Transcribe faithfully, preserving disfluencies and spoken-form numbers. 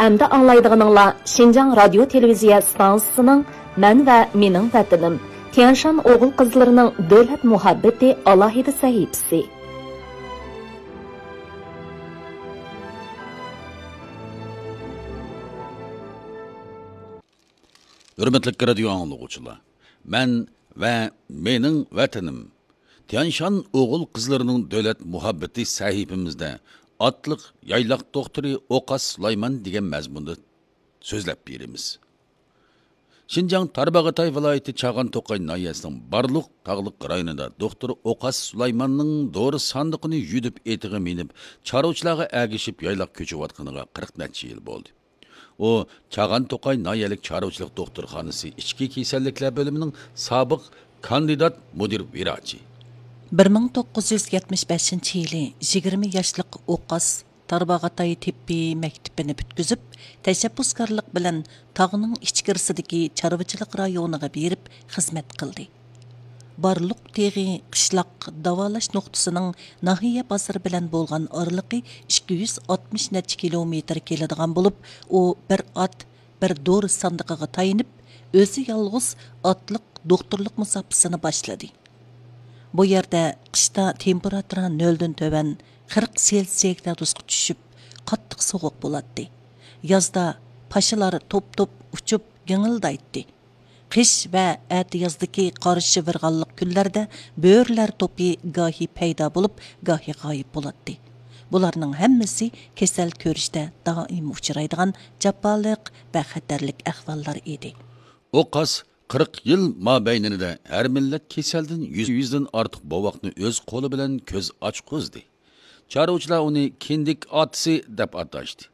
ئەمدى ئاڭلايدىغىنىڭلار شىنجاڭ رادىيو تېلېۋىزىيە ئىستانسىسىنىڭ مەن ۋە مېنىڭ ۋەتىنىم، تيەنشان ئوغۇل قىزلىرىنىڭ دۆلەت مۇھەببىتى ئالاھىدە سەھىپىسى. ھۆرمەتلىك رادىيو ئاڭلىغۇچىلار، مەن ۋە مېنىڭ ۋەتىنىم، تيەنشان ئوغۇل قىزلىرىنىڭ دۆلەت مۇھەببىتى سەھىپىمىزدە ئاتلىق يايلاق دوختۇرى ئوقاس سۇلايمان دېگەن مەزمۇندا سۆزلەپ بېرىمىز. شىنجاڭ تارباغاتاي ۋىلايىتى چاغان توقاي ناھىيەسىنىڭ بارلۇق تاغلىق رايونىدا دوختۇر ئوقاس سۇلايماننىڭ دورا ساندۇقىنى يۈدۈپ ئېتىغا مىنىپ، چارۋىچىلارغا ئەگىشىپ يايلاق كۆچۈۋاتقىنىغا قىرىق نەچچە يىل بولدى. ئۇ چاغان توقاي ناھىيەلىك چارۋىچىلىق دوختۇرخانىسى ئىچكى كېسەللىكلەر بۆلۈمىنىڭ سابىق كاندىدات مۇدىر ۋىراچى. بىر مىڭ توققۇز يۈز يەتمىش بەشىنچى يىلى يىگىرمە ياشلىق ئوقاس تارباغاتاي تېببىي مەكتىپىنى پۈتكۈزۈپ، تەشەببۇسكارلىق بىلەن تاغنىڭ ئىچكىرىسىدىكى چارۋىچىلىق رايونىغا بېرىپ خىزمەت قىلدى. بارلۇق تېغى قىشلاق داۋالاش نۇقتىسىنىڭ ناھىيە بازىرى بىلەن بولغان ئارىلىقى ئىككى يۈز ئاتمىش نەچچە كىلومېتىر كېلىدىغان بولۇپ، ئۇ بىر ئات، بىر دورا ساندۇقىغا تايىنىپ، ئۆزى يالغۇز ئاتلىق دوختۇرلۇق مۇساپىسىنى باشلىدى. بۇ يەردە قىشتا تېمپېراتۇرا نۆلدىن تۆۋەن، قىرىق سېلسىيە گرادۇسقا چۈشۈپ، قاتتىق سوغۇق بولاتتى. يازدا پاشىلار توپ-توپ ئۇچۇپ گىڭىلدايتتى. قىش ۋە ئەتىيازدىكى قار شىۋىرغانلىق كۈنلەردە بۆرىلەر توپى گاھى پەيدا بولۇپ، گاھى غايىب بولاتتى. بۇلارنىڭ ھەممىسى كېسەل كۆرۈشتە دائىم ئۇچرايدىغان جاپالىق ۋە خەتەرلىك ئەھۋاللار ئىدى. ئوقاس قىرىق يىل مابەينىدە ھەر مىللەت كېسەلدىن يۈز، يۈزدىن ئارتۇق بوۋاقنى ئۆز قولى بىلەن كۆز ئاچقۇزدى. چارۋىچىلار ئۇنى كىندىك ئاتىسى دەپ ئاتاشتى.